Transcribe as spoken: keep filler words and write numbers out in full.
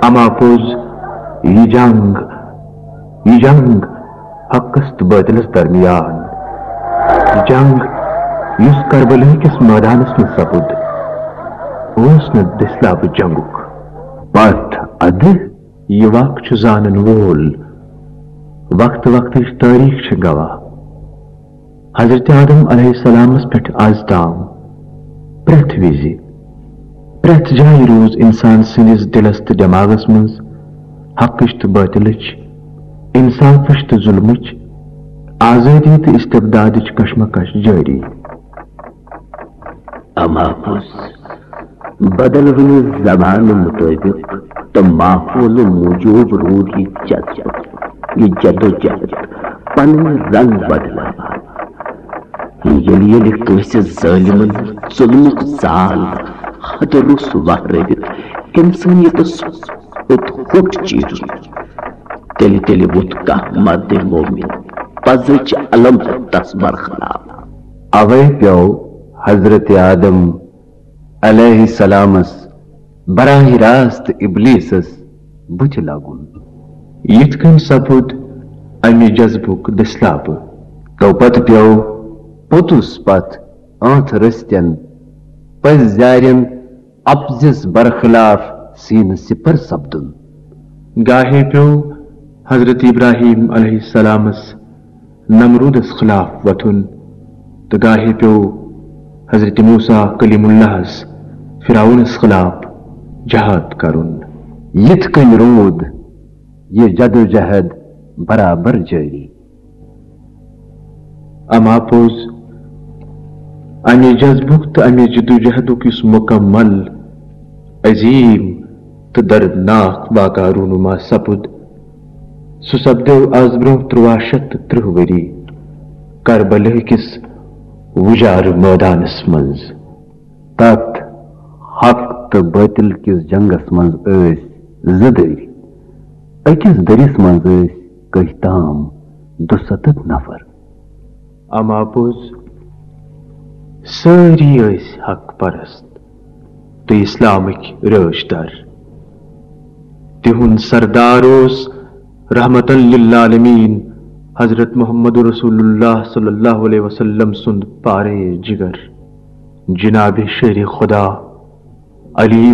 اما پوٚز، یہِ جنگ، یہِ جنگ حقس تہٕ باطلس درمیان، یہِ جنگ یُس کربلہٕ کِس مٲدانس منٛز سپُد، اوس نہٕ دٔسلابہٕ جنگُک۔ پتھ ادٕ یہِ واقعہٕ چھُ زانن وول وقتہٕ وقتٕچ تٲریخ چھِ گواہ۔ حضرت آدم علیہ السلامس پٮ۪ٹھ از تام پرٛٮ۪تھ وِزِ، پرٛٮ۪تھ جایہِ روٗز انسان سٕنٛدِس دِلس تہٕ دٮ۪ماغس منٛز حقٕچ تہٕ باطلٕچ، انصافٕچ تہٕ ظلمٕچ، آزٲدی تہٕ استبدادٕچ کشمکش جٲری۔ اما پوٚز، بدلونہٕ زمانہٕ مطٲبق تہٕ ماحولہٕ موٗجوٗب روٗد یہِ جد، یہِ جدوجہد پنٕنۍ رنگ بدلاوان۔ ییٚلہِ ییٚلہِ کٲنٛسہِ ظٲلمن ظُلمُک زال حد روٚس وہرٲوِتھ انسٲنیتس اوٚت ہوٚٹ چیٖرُن، تیٚلہِ تیٚلہِ ووٚتھ کانٛہہ مرد مومن پزٕچ علم تس برخلاف۔ اوے پیوٚو حضرت آدم علیہ السلامس براہ راست ابلیسس بُتھِ لگُن۔ یِتھ کٔنۍ سپُد امہِ جذبُک دٔسلابہٕ۔ تو پتہٕ پیوٚو پوٚتُس پتھ آنٛتھ رٔستٮ۪ن پٔزۍ زارٮ۪ن اپزِس برخلاف سینہٕ سِپر سپدُن۔ گاہے پیوٚو حضرت ابراہیم علیہ السلامس نمرودس خلاف وۄتھُن، تہٕ گاہے پیوٚو حضرت موسیٰ کلیم اللہس فرعونس خلاف جہاد کرُن۔ یِتھ کٔنۍ روٗد یہِ جدوجہد برابر جٲری۔ اما پوٚز، امہِ جذبُک تہٕ امہِ جدوجہدُک یُس مکمل، عظیم تہٕ دردناک واقعہٕ رونما سپُد، سُہ سپدیو از برونٛہہ ترٛواہ شیٚتھ تہٕ ترٕٛہ ؤری کربلہ کِس وُجارٕ مٲدانس منٛز۔ تتھ حق تہٕ باطل کِس جنگس منٛز ٲسۍ زٕ دٔرۍ۔ أکِس دٔرِس منٛز ٲسۍ کٔہۍ تام دُسَتتھ نفر۔ اما پوٚز، سٲری ٲسۍ حق پرست تہٕ اسلامٕکۍ رٲچھ در۔ تِہُنٛد سردار اوس رحمتاً للعالمین حضرت محمد رسول اللہ صلی اللہ علیہ وسلم سُنٛد پارے جگر جناب شیر خدا علی